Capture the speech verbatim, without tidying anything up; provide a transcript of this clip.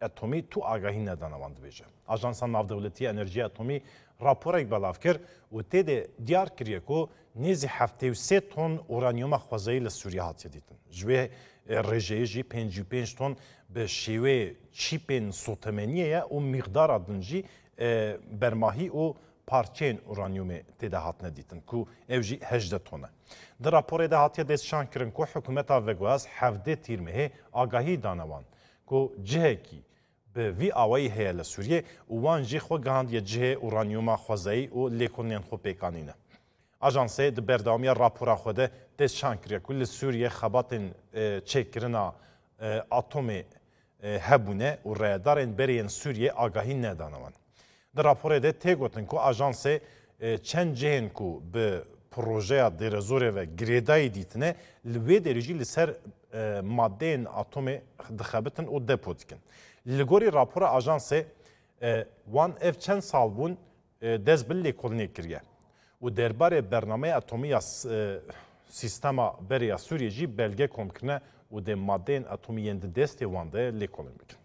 Etomî tu agahî nedane wan, dibêje. Ajansa Navdewletî ya Enerjiya Etomî raporek belav kir û tê de diyar kiriye ku nêzî heftê û sê ton uranyuma xwezayî li Sûriye hatiye dîtin. Ji wê, e, rêjeyê jî pêncî û pênc ton bi şêwê çîpên sotemeniyê ye û mîqdara din jî, e, bermahî û parçeyên uranyumê tê de hatine dîtin ku ew jî hejdeh ton e. Di raporê de hatiye destşan kirin ku hikûmeta veguhaz hevdê Tîrmehê agahî dane wan ku cihekî bi vî awayî heye li Sûriyê û wan jî xwe gihandiye cihê uranyuma xwezayî û lêkolînên xwe pêk anîne. Ajansê di berdewamiya rapora xwe de destşan kiriye ku li Sûriyê xebatên, e, çêkirina, e, atomê, e, hebûne û rayedarên berê yên Sûriyê agahî nedane wan. Di raporê de tê gotin ku ajansê, e, çend cihên ku bi projeya dêrezorê ve girêdayî dîtine, li wê derê jî li ser, e, madeyên atomê dixebitin û depo dikin. Li gorî rapora ajansê, e, wan ev çend sal bûn, e, dest bi lêkolînê kiriye û derbarê bernameya atomî ya s-, e, sîstema berê ya Sûriyê jî belge kom kirine û dê madeyên atomî yên di destê wan de lêkolîn bikin.